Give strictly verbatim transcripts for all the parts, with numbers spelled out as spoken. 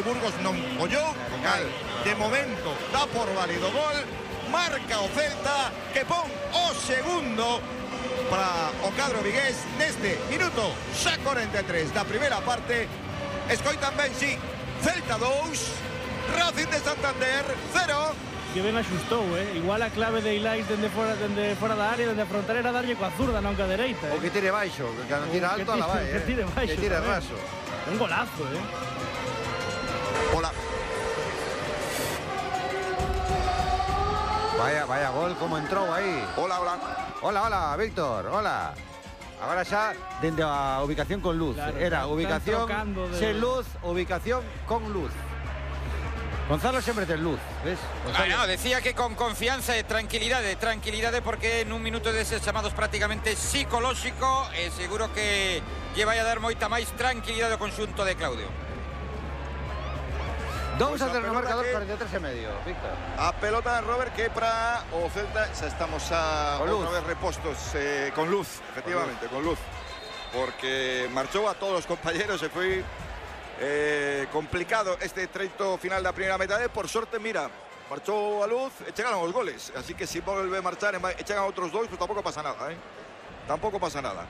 Burgos non follou, cal, de momento dá por válido gol, marca o Celta que pon o segundo para o cadro vigués neste minuto xa cuarenta e tres da primeira parte. Escoitan ben, si, Celta dous, Racing de Santander cero. Que ben axustou, eh? Igual a clave de Ilais dende fora, dende fora da área, dende a frontera era darlle coa zurda, non coa dereita, eh? O que tire baixo, que cando tira alto, ala vai, eh? Que tire baixo, que tire tamén. raso. Un golazo, eh? Hola. Vaya, vaya gol, como entrou aí. Hola, hola. Hola, hola, Víctor, hola. Agora xa dende a ubicación con luz. Claro, Era están ubicación trocando de... sen luz, ubicación con luz. Gonzalo sempre ten luz, ves? Ah, no, decía que con confianza e tranquilidade, tranquilidade porque nun minuto deses chamados prácticamente psicolóxico e seguro que lle vai a dar moita máis tranquilidade ao conxunto de Claudio. Dous a Pois a cero no pelota marcador, que- cuarenta y tres e medio, Víctor. A pelota de Robert que para o Celta xa estamos a Con luz. outra vez repostos eh, con luz, efectivamente, con luz. Porque marchou a todos os compañeros e foi eh, complicado este treito final da primeira metade. Por sorte, mira, marchou a luz e chegaron os goles. Así que se si volve a marchar e chegan outros dois, pues tampouco pasa nada, eh? Tampouco pasa nada.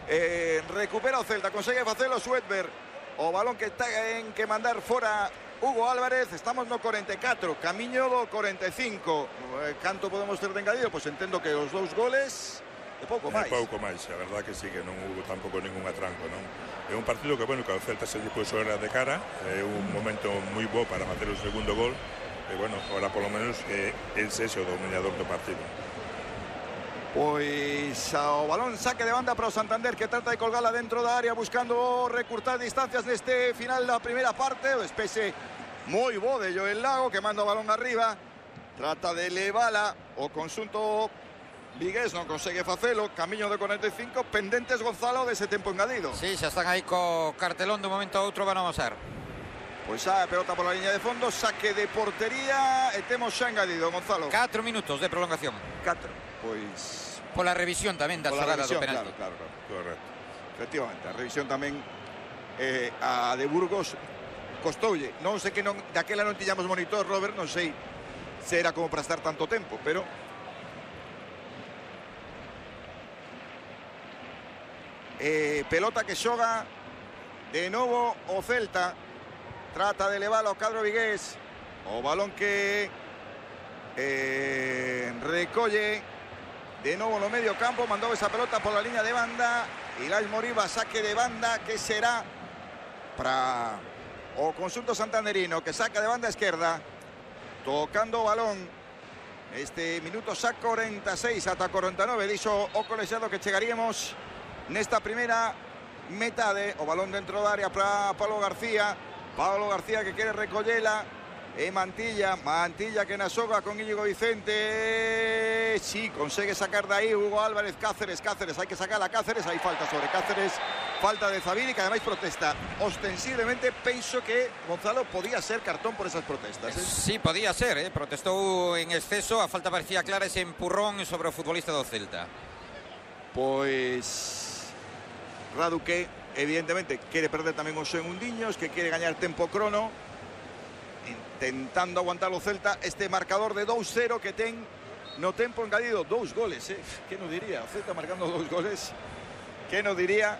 Eh, recupera o Celta, consegue facelo Suetber. O balón que está en que mandar fora Hugo Álvarez. Estamos no cuarenta e catro, camiño do cuarenta e cinco. Eh, canto podemos ter de engadido? Pois pues entendo que os dous goles e pouco É máis. pouco máis, a verdad que sí, que non hubo tampouco ningún atranco, non? É un partido que, bueno, que o Celta se lle puso era de cara, é un momento moi bo para mater o segundo gol, e, bueno, ahora polo menos é el sexo dominador do partido. Pois ao balón saque de banda para o Santander que trata de colgala dentro da área buscando recurtar distancias neste final da primeira parte. O despese moi bo de Joel Lago que manda o balón arriba, trata de levala o conxunto vigués, non consegue facelo. Camiño de cuarenta e cinco, pendentes Gonzalo dese tempo engadido. Sí, xa están aí co cartelón de un momento a outro van a amasar. Pois a pelota pola liña de fondo, saque de portería e temos xa engadido, Gonzalo. Catro minutos de prolongación. Catro. Pois Pola revisión tamén da pola xogada do revisión, penalti. claro, claro, claro. Correcto. Efectivamente, a revisión tamén eh, a de Burgos costoulle. Non sei que non, daquela non tiñamos monitor, Robert, non sei se era como para estar tanto tempo, pero eh, pelota que xoga de novo o Celta, trata de levar ao cadro vigués, o balón que eh, recolle de novo no medio campo, mandou esa pelota por la liña de banda. Ilais Moriba, saque de banda que será para o conxunto santanderino, que saca de banda esquerda, tocando o balón. Este minuto xa cuarenta e seis ata cuarenta e nove, dixo o colexiado que chegaríamos nesta primeira metade. O balón dentro da área para Pablo García. Pablo García que quere recollela. E Mantilla, Mantilla que na xoga con Íñigo Vicente. Sí, consegue sacar de aí Hugo Álvarez. Cáceres, Cáceres, hai que sacar a Cáceres. Hai falta sobre Cáceres, falta de Zabini, que ademais protesta ostensiblemente. Penso que Gonzalo podía ser cartón por esas protestas, eh? Sí, podía ser, eh? Protestou en exceso, a falta parecía clara ese empurrón sobre o futbolista do Celta. Pois Radu que evidentemente quere perder tamén os segundiños, que quere gañar tempo crono, intentando aguantar o Celta este marcador de dos cero que ten no tempo engadido. Dous goles, eh? Que non diría? O Celta marcando dous goles, que non diría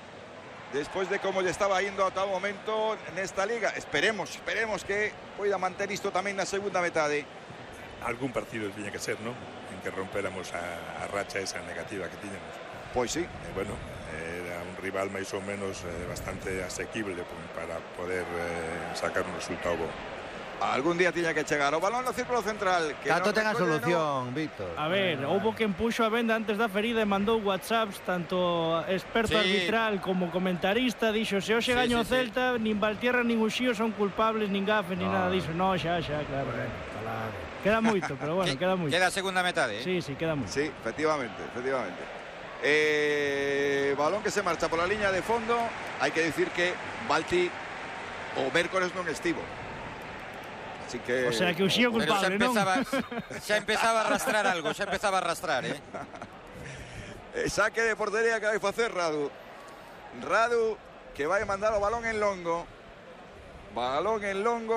despois de como lle estaba indo ata o momento nesta liga. Esperemos, esperemos que poida manter isto tamén na segunda metade. Algún partido tiña que ser, non? En que rompéramos a, a racha esa negativa que tiñamos. Pois sí. Eh, bueno, era un rival máis ou menos eh, bastante asequible para poder eh, sacar un resultado bo. Algún día tiña que chegar o balón no círculo central. Que Tanto non ten a recolle, solución, Víctor. A ver, houbo quen puxo a venda antes da ferida e mandou whatsapps, tanto experto Sí. arbitral como comentarista, dixo, se hoxe Sí, gaño o sí, sí. Celta, nin Valtierra nin Uxío son culpables, nin Gafe, nin No. nada diso. No, xa, xa, claro, claro, claro. Queda moito, pero bueno, Que- queda moito. Queda a segunda metade, eh? Sí, sí, queda moito. Sí, efectivamente, efectivamente. Eh, balón que se marcha por la línea de fondo. Hay que decir que Balti o Mércores non estivo. Así que O sea, que Uxío Pero xa culpable, non? empezaba, xa empezaba a arrastrar algo, xa empezaba a arrastrar, eh? eh, saque de portería que vai facer Radu. Radu que vai mandar o balón en longo. Balón en longo.